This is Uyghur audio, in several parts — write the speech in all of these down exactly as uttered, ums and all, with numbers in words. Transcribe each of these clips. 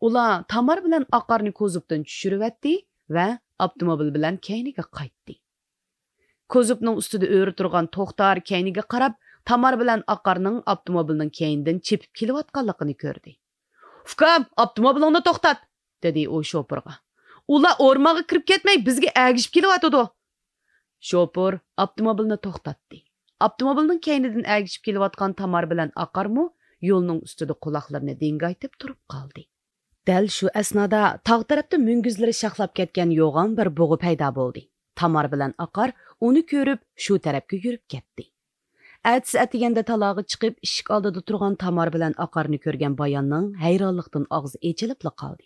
ئۇلار تامار بىلەن ئاقارنى كوزۇپتىن چۈشۈرۈۋەتتى ۋە ئاپتوموبىل بىلەن كەينىگە قايتتى. كوزۇپنىڭ ئۈستىدە ئۆرە تۇرغان توختار كەينىگە قاراپ، تامار بىلەن ئاقارنىڭ ئاپتوموبىلنىڭ كەينىدىن چېپىپ كېلىۋاتقانلىقىنى كۆردى. «ئۇكام، ئاپتوموبىلىڭنى توختات!» دېدى ئۇ شوپۇرغا. «ئۇلار ئورمانغا كىرىپ كەتمەي، بىزگە ئەگىشىپ كېلىۋاتىدۇ.» شوپۇر ئاپتوموبىلنى توختاتتى. ئاپتوموبىلنىڭ كەينىدىن ئەگىشىپ كېلىۋاتقان تامار بىلەن ئاقارمۇ يولنىڭ ئۈستىدە قۇلاقلىرىنى دىڭگايتىپ تۇرۇپ قالدى. دەل شۇ ئەسنادا تاغ تەرەپتە مۈڭگۈزلىرى شاخلاپ كەتكەن يوغان بىر بۇغا پەيدا بولدى. تامار بىلەن ئاقار ئۇنى كۆرۈپ، شۇ تەرەپكە يۈرۈپ كەتتى. ئەتىسى ئەتىگەندە تالاغا چىقىپ، ئىشىك ئالدىدا تۇرغان تامار بىلەن ئاقارنى كۆرگەن باياننىڭ ھەيرانلىقتىن ئاغزى ئېچىلىپلا قالدى.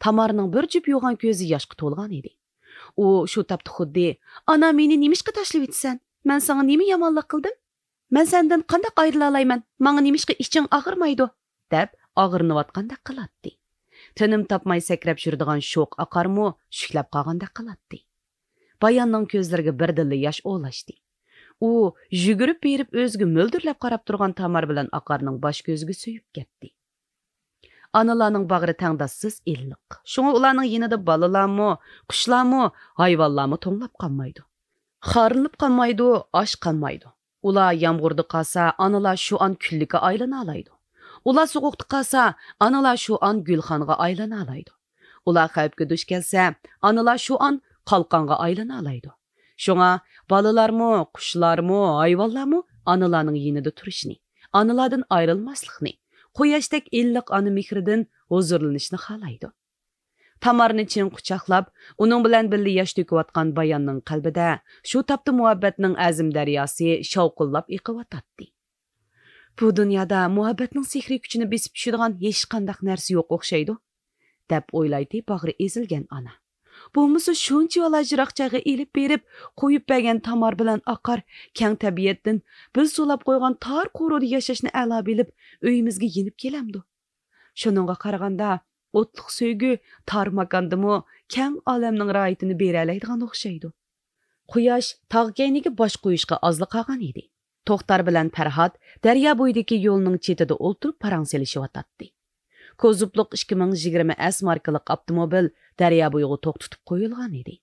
تامارنىڭ بىر جۈپ يوغان كۆزى ياشقا تولغان ئىدى. ئۇ شۇ تاپتا خۇددى، «ئانا، مېنى نېمىشقا تاشلىۋېتىسەن؟ مەن ساڭا نېمە يامانلىق قىلدىم؟ مەن سەندىن قانداق ئايرىلالايمەن؟ ماڭا نېمىشقا ئىچىڭ ئاغرىمايدۇ؟» دەپ ئاغرىنىۋاتقاندەك قىلاتتى. تىنىم تاپماي سەكرەپ يۈرىدىغان شوخ ئاقارمۇ شۈكلەپ قالغاندەك قىلاتتى. باياننىڭ كۆزلىرىگە بىردىنلا ياش ئولاشتى. ئۇ يۈگۈرۈپ بېرىپ ئۆزىگە مۆلدۈرلەپ قاراپ تۇرغان تامار بىلەن ئاقارنىڭ باش كۆزىگە سۆيۈپ كەتتى. ئانىلارنىڭ باغرى تەڭداشسىز ئىللىق. شۇڭا ئۇلارنىڭ يېنىدا بالىلارمۇ، قۇشلارمۇ، ھايۋانلارمۇ توڭلاپ قالمايدۇ. خارلىنىپ قالمايدۇ، ئاچ قالمايدۇ. ئۇلار يامغۇردا قالسا، ئانىلار شۇ ئان كۈللۈككە ئايلىنالايدۇ. ئۇلار سوغۇقتا قالسا، ئانىلار شۇ ئان گۈلخانغا ئايلىنالايدۇ. ئۇلار خەۋپكە دۇچ كەلسە، ئانىلار شۇ ئان قالقانغا ئايلىنالايدۇ. شۇڭا بالىلارمۇ، قۇشلارمۇ، ھايۋانلارمۇ ئانىلارنىڭ يېنىدا تۇرۇشنى، ئانىلاردىن ئايرىلماسلىقنى، قۇياشتەك ئىللىق ئانا مېھرىدىن ھۇزۇرلىنىشنى خالايدۇ. تامارنى چىڭ قۇچاقلاپ، ئۇنىڭ بىلەن بىللە ياش تۆكۈۋاتقان باياننىڭ قەلبىدە شۇ تاپتا مۇھەببەتنىڭ ئەزىم دەرياسى شاۋقۇنلاپ ئېقىۋاتاتتى. بۇ دۇنيادا مۇھەببەتنىڭ سېھرىي كۈچىنى بېسىپ چۈشىدىغان ھېچقانداق نەرسە يوق ئوخشايدۇ، دەپ ئويلايتتى باغرى ئېزىلگەن ئانا. بولمىسا شۇنچىۋالا يىراق جايغا ئېلىپ بېرىپ، قويۇپ بەرگەن تامار بىلەن ئاقار كەڭ تەبىئەتتىن بىز سولاپ قويغان تار قورۇدا ياشاشنى ئەلا بىلىپ، ئۆيىمىزگە يېنىپ كېلەمدۇ؟ شۇنىڭغا قارىغاندا، ئوتلۇق سۆيگۈ تار ماكاندىمۇ كەڭ ئالەمنىڭ راھىتىنى بېرەلەيدىغان ئوخشايدۇ. قۇياش تاغ كەينىگە باش قويۇشقا ئازلا قالغان ئىدى. توختار بىلەن پەرھات دەريا بويىدىكى يولنىڭ چېتىدا ئولتۇرۇپ پاراڭ سېلىشىۋاتاتتى. كوزۇپلۇق ئىككى مىڭ يىگىرمە ئەس ماركىلىق ئاپتوموبىل دەريا بويىغا توختىتىپ قويۇلغان ئىدى.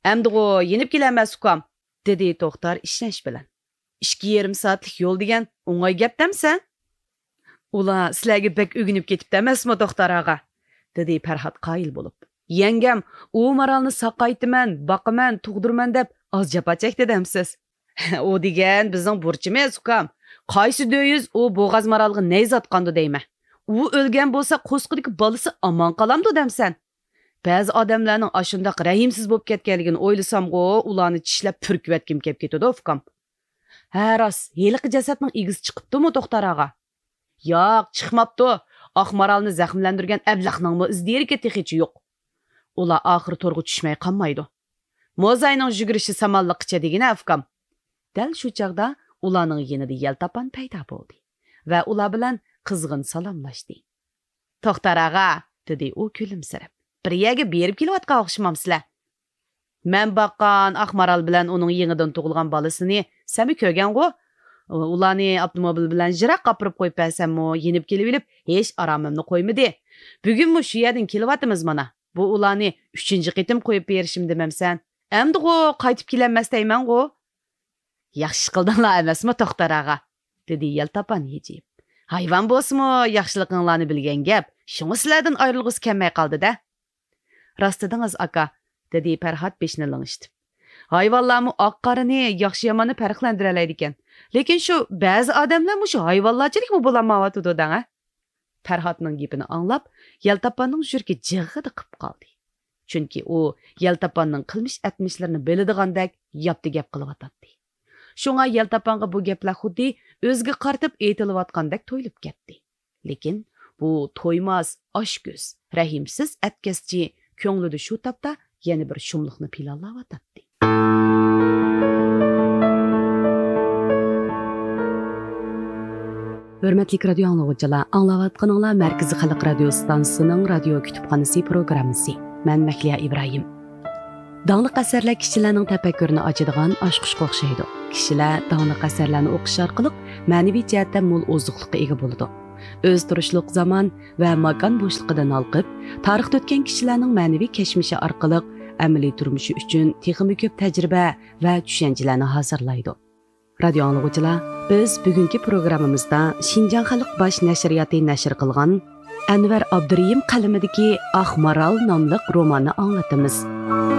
«ئەمدىغۇ يېنىپ كېلەمەس، ئۇكام!» دېدى توختار ئىشەنچ بىلەن. «ئىككى يېرىم سائەتلىك يول دېگەن ئوڭاي گەپ دەمسەن؟» «ئۇلار سىلەرگە بەك ئۆگىنىپ كېتىپتۇ ئەمەسمۇ، توختار ئاغا؟» دېدى پەرھات قايىل بولۇپ. «يەڭگەم، ئۇ مارالنى ساقايتىمەن، باقىمەن، تۇغدۇرىمەن دەپ ئاز جاپا چەكتى دەمسىز؟» «ئۇ دېگەن بىزنىڭ بۇرچىمىز، ئۇكام. قايسى دۆيۈز ئۇ بوغاز مارالغا نەيزە ئاتقاندۇ دەيمەن. ئۇ ئۆلگەن بولسا، قورسىقىدىكى بالىسى ئامان قالامدۇ دەمسەن؟ بەزى ئادەملەرنىڭ ئاشۇنداق رەھىمسىز بولۇپ كەتكەنلىكىنى ئويلىسامغۇ، ئۇلارنى چىشلەپ پۈركۈۋەتكۈم كەپ كېتىدۇ، ئۇكام.» «ھە، راست، ھېلىقى جەسەتنىڭ ئىگىسى چىقىپتۇمۇ، توختار ئاغا؟» «ياق، چىقماپتۇ. ئاق مارالنى زەخىملەندۈرگەن ئەبلەخنىڭمۇ ئىز دېرىكى تېخىچە يوق. ئۇلار ئاخىرى تورغا چۈشمەي قالمايدۇ. موزاينىڭ يۈگۈرۈشى سامانلىققىچە دېگىنە، ئۇكام.» دەل شۇ چاغدا ئۇلارنىڭ يېنىدا يەلتاپان پەيدا بولدى ۋە ئۇلار بىلەن قىزغىن سالاملاشتى. «توختار ئاغا»، دېدى ئۇ كۈلۈمسىرەپ، «بىر يەرگە بېرىپ كېلىۋاتقان ئوخشىمامسىلەر؟ مەن باققان ئاق مارال بىلەن ئۇنىڭ يېڭىدىن تۇغۇلغان بالىسىنى سەنمۇ كۆرگەنغۇ؟ ئۇلارنى ئاپتوموبىل بىلەن يىراققا ئاپىرىپ قويۇپ بەرسەممۇ، يېنىپ كېلىۋېلىپ، ھېچ ئارامىمنى قويمىدى. بۈگۈنمۇ شۇ يەردىن كېلىۋاتىمىز مانا. بۇ ئۇلارنى ئۈچىنچى قېتىم قويۇپ بېرىشىم دېمەمسەن؟ ئەمدىغۇ قايتىپ كېلەلمەس دەيمەنغۇ؟» «ياخشى قىلدىڭلار ئەمەسمۇ، توختار ئاغا؟» دېدى يەلتاپان ھىجىيىپ. «ھايۋان بولسىمۇ، ياخشىلىقىڭلارنى بىلگەن گەپ، شۇڭا سىلەردىن ئايرىلغۇسى كەلمەي قالدى-دە.» «راست دېدىڭىز، ئاكا»، دېدى پەرھات بېشىنى لىڭشىتىپ. «ھايۋانلارمۇ ئاق-قارىنى، ياخشى-ياماننى پەرقلەندۈرەلەيدىكەن. لېكىن شۇ بەزى ئادەملەر مۇشۇ ھايۋانلارچىلىكمۇ بولالمايۋاتىدۇ دەڭە.» پەرھاتنىڭ گېپىنى ئاڭلاپ، يەلتاپاننىڭ يۈرىكى جىغغىدە قىپ قالدى. چۈنكى ئۇ يەلتاپاننىڭ قىلمىش ئەتمىشلىرىنى بىلىدىغاندەك ياپتى گەپ قىلىۋاتاتتى. شۇڭا يەلتاپانغا بۇ گەپلەر خۇددى ئۆزىگە قارىتىپ ئېيتىلىۋاتقاندەك تۇيۇلۇپ كەتتى. لېكىن بۇ تويماس، ئاچكۆز، رەھىمسىز ئەتكەسچى كۆڭلىدە شۇ تاپتا يەنە بىر شۇملۇقنى پىلانلاۋاتاتتى. ھۆرمەتلىك رادىيو ئاڭلىغۇچىلار، ئاڭلاۋاتقىنىڭلار مەركىزىي خەلق رادىيو ئىستانسىسىنىڭ رادىيو كۇتۇپخانىسى پروگراممىسى. مەن مەھلىيا ئىبراھىم. داڭلىق ئەسەرلەر كىشىلەرنىڭ تەپەككۇرىنى ئاچىدىغان ئاچقۇچقا ئوخشايدۇ. كىشىلەر داڭلىق ئەسەرلەرنى ئوقۇش ئارقىلىق مەنىۋى جەھەتتە مول ئوزۇقلۇققا ئىگە بولىدۇ. ئۆزى تۇرۇشلۇق زامان ۋە ماكان بوشلۇقىدىن ھالقىپ، تارىختا ئۆتكەن كىشىلەرنىڭ مەنىۋى كەچمىشى ئارقىلىق ئەمەلىي تۇرمۇشى ئۈچۈن تېخىمۇ كۆپ تەجرىبە ۋە چۈشەنچىلەرنى ھازىرلايدۇ. رادىيو ئاڭلىغۇچىلار، بىز بۈگۈنكى پروگراممىمىزدا شىنجاڭ خەلق باش نەشرىياتى نەشر قىلغان ئەنۋەر ئابدۇرېھىم قەلىمىدىكى ئاق مارال ناملىق روماننى ئاڭلىتىمىز.